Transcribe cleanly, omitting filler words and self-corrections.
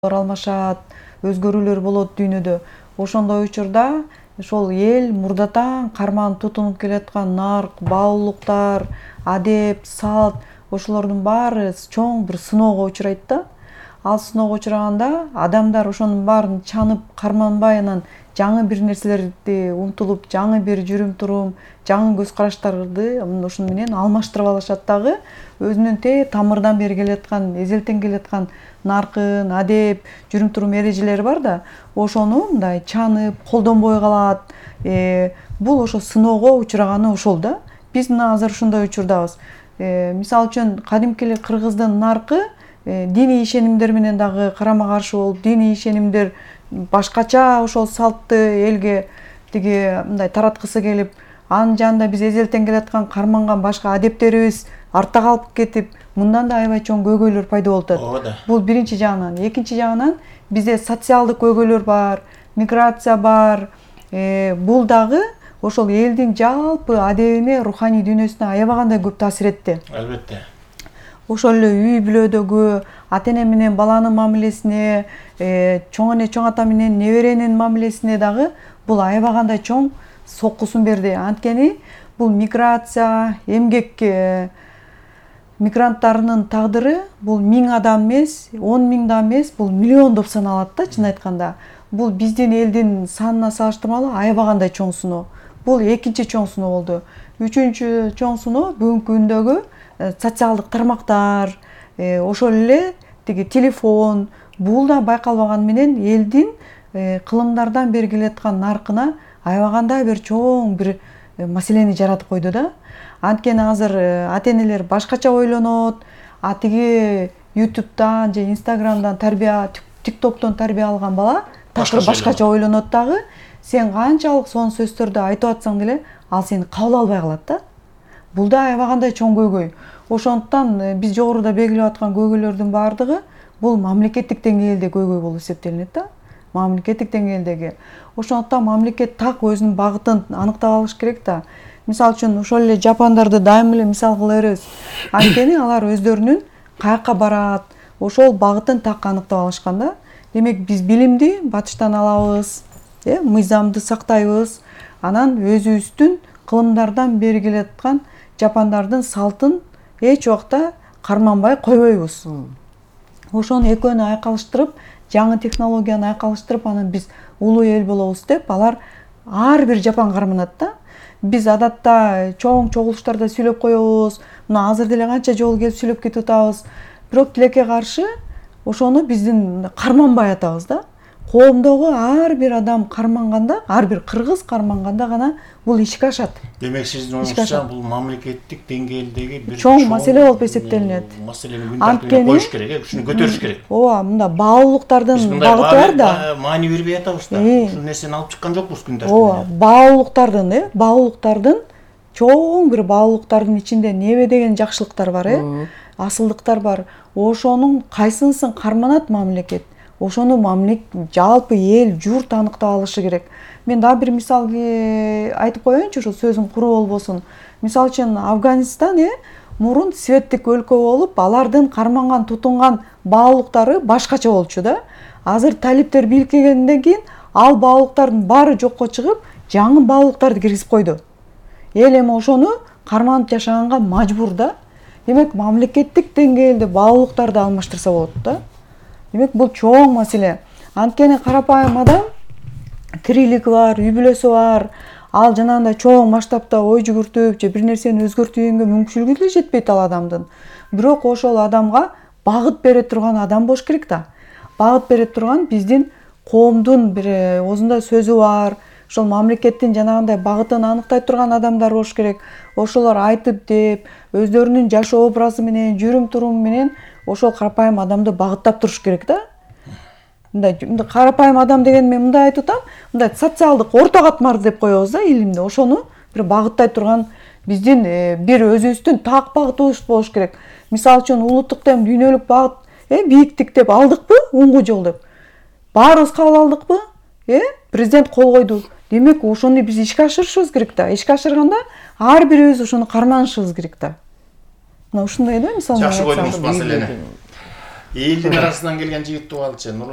алмашат, өзгөрүүлөр болот дүйнөдө. Ошондой учурда ошол эл мурдатан карман тутунуп келаткан нарк, баалуулуктар, адеп, салт ошолордун баары чоң бир сыноого учурайт да. Ал сыноого учураганда адамдар ошонун баарын чанып, карманбай анан жаңы бир нерселерди умтулуп, жаңы бир жүрүм-турум, жаңы көз караштарды ошону менен алмаштырып алышат дагы. Өзүнүн тамырдан бери келаткан, эзелтен келаткан наркын, адеп, жүрүм-турум эрежелери бар да, ошону мындай чанып, колдонбой калат. Бул ошо сыноого учураганы ошол да. Биз мына азыр ушундай учурдабыз. Мисалы үчүн кадимки эле кыргыздын наркы диний ишенимдер менен дагы карама-каршы болуп, диний ишенимдер башкача ошол салтты элге мындай тараткысы келип, анын жанында биз эзелтен келаткан карманган башка адептерибиз артта калып кетип, мындан да аябай чоң көйгөйлөр пайда болуп атат. Бул биринчи жагынан. Экинчи жагынан бизде социалдык көйгөйлөр бар, миграция бар. Бул дагы ошол элдин жалпы адебине, руханий дүйнөсүнө аябагандай көп таасир этти. Албетте. Ошол эле үй бүлөдөгү ата-эне менен баланын мамилесине, чоң эне чоң ата менен неберенин мамилесине дагы бул аябагандай чоң соккусун берди. Анткени бул миграция, эмгек мигранттарынын тагдыры бул 1000 адам эмес, 10 000 да эмес, бул миллиондоп саналат да, чын айтканда. Бул биздин элдин санына салыштырмалуу аябагандай чоң сыноо. Бул экинчи чоң сыноо болду. Үчүнчү чоң сыноо бүгүнкү күндөгү социалдык тармактар, ошол эле телефон. Бул да байкалбаган менен элдин кылымдардан бери келаткан наркына аябагандай бир чоң бир маселени жаратып койду да. Анткени азыр ата-энелер башкача ойлонот, тиги YouTube'дан же Instagram'дан тарбия, TikTok'тон тарбия алган бала такыр башкача ойлонот дагы. Сен канчалык сонун сөздөрдү айтып атсаң деле, ал сени кабыл албай калат да. Бул да аябагандай чоң көйгөй. Ошондуктан биз жогоруда белгилеп аткан көйгөйлөрдүн баардыгы бул мамлекеттик деңгээлде көйгөй болуп эсептелинет да. Мамлекеттик деңгээлдеги. Ошондуктан мамлекет так өзүнүн багытын аныктап алыш керек да. Мисалы үчүн ошол эле жапондарды дайыма эле мисал кыла беребиз. Анткени алар өздөрүнүн каяка барат, ошол багытын так аныктап алышкан да. Демек биз билимди батыштан алабыз, мыйзамды сактайбыз, анан өзүбүздүн кылымдардан бери келаткан жапондардын салтын эч убакта карманбай койбойбуз. Ошону экөөнү айкалыштырып, жаңы технологияны айкалыштырып, анан биз улуу эл болобуз деп, алар ар бир жапон карманат да. Биз адатта чоң чогулуштарда сүйлөп коебуз. Мына азыр деле канча жолу келип сүйлөп кетип атабыз. Бирок тилекке каршы ошону биздин карманбай атабыз да. Коомдогу ар бир адам карманганда, ар бир кыргыз карманганда гана бул ишке ашат. Демек сиздин оюңузча бул мамлекеттик деңгээлдеги бир чоң маселе болуп эсептелинет. Маселени күн тартибине коюш керек, ушуну көтөрүш керек. Ооба, мында баалуулуктардын багыты бар да. Маани бербей атабыз да. Ушул нерсени алып чыккан жокпуз күн Ооба, тартибине. баалуулуктардын чоң бир баалуулуктардын ичинде небе деген жакшылыктар бар, асылдыктар бар. Ошонун кайсынысын карманат мамлекет? Ошону жалпы эл, журт аныктап алышы керек. Мен дагы бир мисал айтып коеюнчу, ошо сөзүм куруу болбосун. Мисалы үчүн Афганистан мурун светтик өлкө болуп, алардын карманган, тутунган баалуулуктары башкача болчу да. Азыр талиптер бийликке келгенден кийин ал баалуулуктардын баары жокко чыгып, жаңы баалуулуктарды киргизип койду. Эл эми ошону карманып жашаганга мажбур да. Демек мамлекеттик деңгээлде баалуулуктарды алмаштырса болот да. Демек бул чоң маселе. Анткени карапайым адам тирилиги бар, үй бүлөсү бар. Ал жанагындай чоң масштабта ой жүгүртүп, же бир нерсени өзгөртүүгө мүмкүнчүлүгү деле жетпейт ал адамдын. Бирок ошол адамга багыт бере турган адам болуш керек да. Багыт бере турган биздин коомдун бир оозунда сөзү бар. Ошол мамлекеттин жанагындай багытын аныктай турган адамдар болуш керек. Ошолор айтып деп, өздөрүнүн жашоо образы менен, жүрүм-туруму менен ошол карапайым адамды багыттап туруш керек да. Мындай карапайым адам деген мен мындай айтып атам, мындай социалдык орто катмар деп коебуз да илимде. Ошону бир багыттай турган биздин бир өзүбүздүн так багытыбыз болуш керек. Мисалы үчүн улуттук дем дүйнөлүк багыт, бийиктик деп алдыкпы? Оңгу жол деп. Баарыбыз кабыл алдыкпы? Президент кол койду. Демек ошону биз ишке ашырышыбыз керек да. Ишке ашырганда ар бирибиз ошону карманышыбыз керек да. Мына ушундай да мисалы. Жакшы койдуңуз маселени. элдин арасынан келген жигит туп алчы. Нурлан